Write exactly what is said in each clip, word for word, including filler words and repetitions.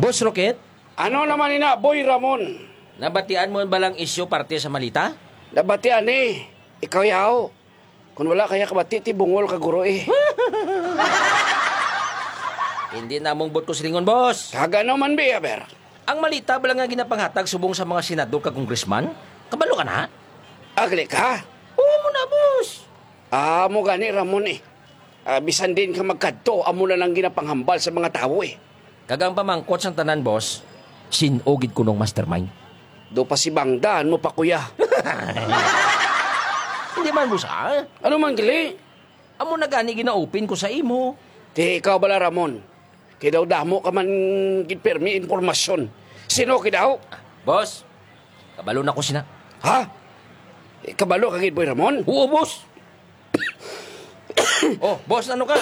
Boss Rocket? Ano naman ina, Boy Ramon? Nabatian mo ba lang isyu parte sa malita? Nabatian ni. Ikaw yaw. Kung wala kaya kabati, ti bungol ka guro eh. Hindi namong bot ko silingon, boss. Kag ano man, bi, aber? Ang malita bala nga ginapanghatag subong sa mga senador kag congressman? Kabalo ka na? Agli ka? Oo mo na, boss. Ah, mo gani, Ramon eh. Ah, bisan din ka magkadto, amo na lang ginapanghambal sa mga tawo eh. Kag ang pamangkot sang tanan, boss, sin-o gid kunong mastermind. Do pa si Bangdan mo pa, kuya. Hindi man, boss, ah. Ano man, gali? Amo na gani gina-open ko sa imo. Ti ikaw bala, Ramon. Kay daw damo ka man gid pirmi impormasyon. Sino kay daw? Boss, kabalo na ko sina. Ha? Eh, kabalo ka gid, Boy Ramon? Oo, boss. Oh, boss, ano ka?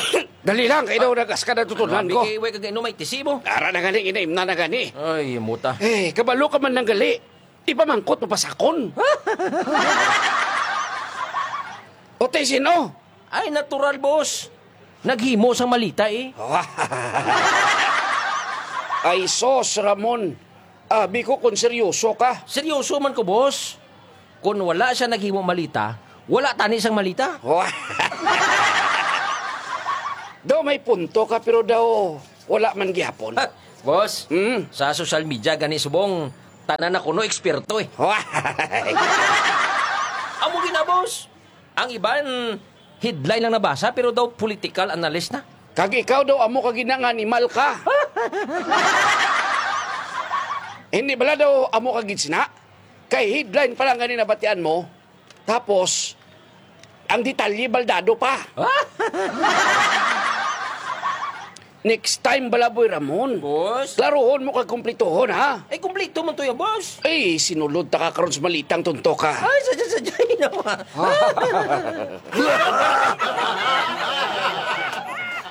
Dali lang, kay daw nagas ka na tutunan ko. Kay way kag inom ay tisi mo. Ara na gani, inaim na na gani. Ay, muta. Eh, kabalo ka man nang gali. Ipamangkot mo pa sakon. O, tay, sino? Ay, natural, boss. Naghimo sang malita eh. Ay, sos, Ramon. Abi ko kung seryoso ka. Seryoso man ko, boss. Kung wala siya naghimo malita, wala tani sang malita. Daw may punto ka, pero daw wala man gihapon. Boss, Hmm? sa social media gani subong, tanan na kuno eksperto eh. Amo gina, boss. Ang iban, headline lang nabasa, pero daw political analyst na. Kag ikaw daw amo ka gina nga animal ka. Hindi bala daw amo ka gid sina? Kay headline pa lang gani nabatian mo. Tapos, ang detalye baldado pa. Next time bala, Boy Ramon. Boss? Klaruhon mo kag kumplituhon, ha? Ay, kumplito man to ya, boss. Ay, sinulod ta ka karon sa malitang tunto ka. Ay, sadya, sadya, naman.